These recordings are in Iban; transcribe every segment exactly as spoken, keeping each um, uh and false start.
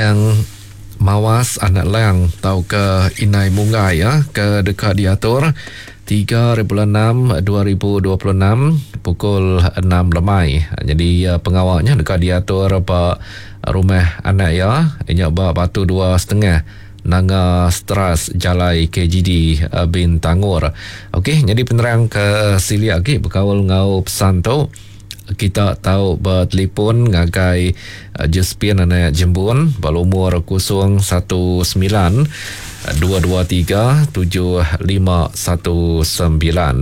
Niang Mawas Anak Lang tauka Inai Munggai ya ke deka diatur tiga bulan enam dua ribu dua puluh enam pukul enam lemai. Jadi pengawaknya deka diatur ba rumah anak ya nya ba Batu dua setengah Nanga Stras Jalai K G D Bintangor. Okey, jadi penerang ke silik lagi berkaul ngau pesan tu kita tahu bertelefon ngagai Josephine anak Jembun berumur kosong satu sembilan dua dua tiga tujuh lima satu sembilan.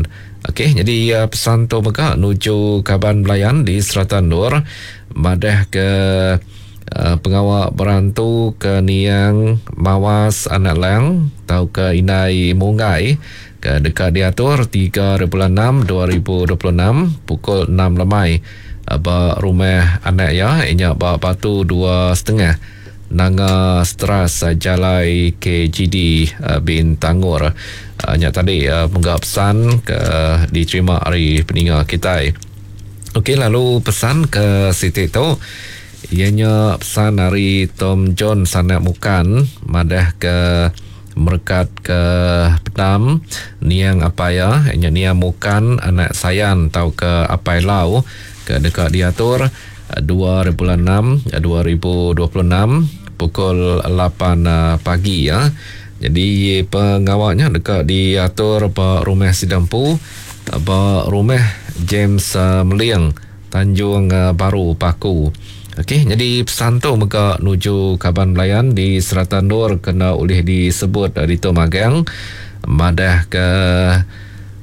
Okey, jadi pesan tu mega nuju kaban belayan di Serata Nur madah ke Uh, pengawak berantu ke Niang Mawas Anak Lang tau ke Inai Munggai ke dekat diatur tiga bulan enam dua ribu dua puluh enam pukul enam lemai ba rumah anak ya inya ba Batu dua setengah Nanga Stras Jalai K G D Bintangor. Uh, nya tadi uh, menggap pesan ke diterima hari peninga kita. Okey, lalu pesan ke siti tu ianya pesan dari Tom John Sanak Mukan madah ke merekat ke Penam Niang Apaya ianya Niang Mukan anak Sayan tau ke Apai Lau ke dekat diatur dua bulan enam dua ribu dua puluh enam pukul lapan pagi ya. Jadi pengawaknya dekat diatur ba rumah Sidampu ba rumah James Meling Tanjung Baru Paku. Okey, jadi pesan tu mega nuju kaban belayan di Serata Nur kena oleh disebut di tu magang madah ke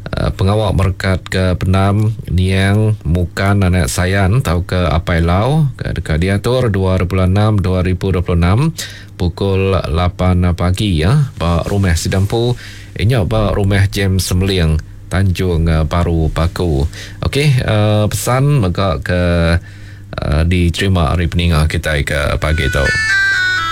uh, pengawak merekat ke Penam Niang Mukan anak Sayan tau ke Apai Lau ke dekat diatur dua bulan enam dua ribu dua puluh enam pukul lapan pagi ya ba rumah Sidampu inya ba rumah James Meling Tanjung Baru Paku. Okey, uh, pesan mega ke Uh, diterima hari peninga kita ke pagi tu.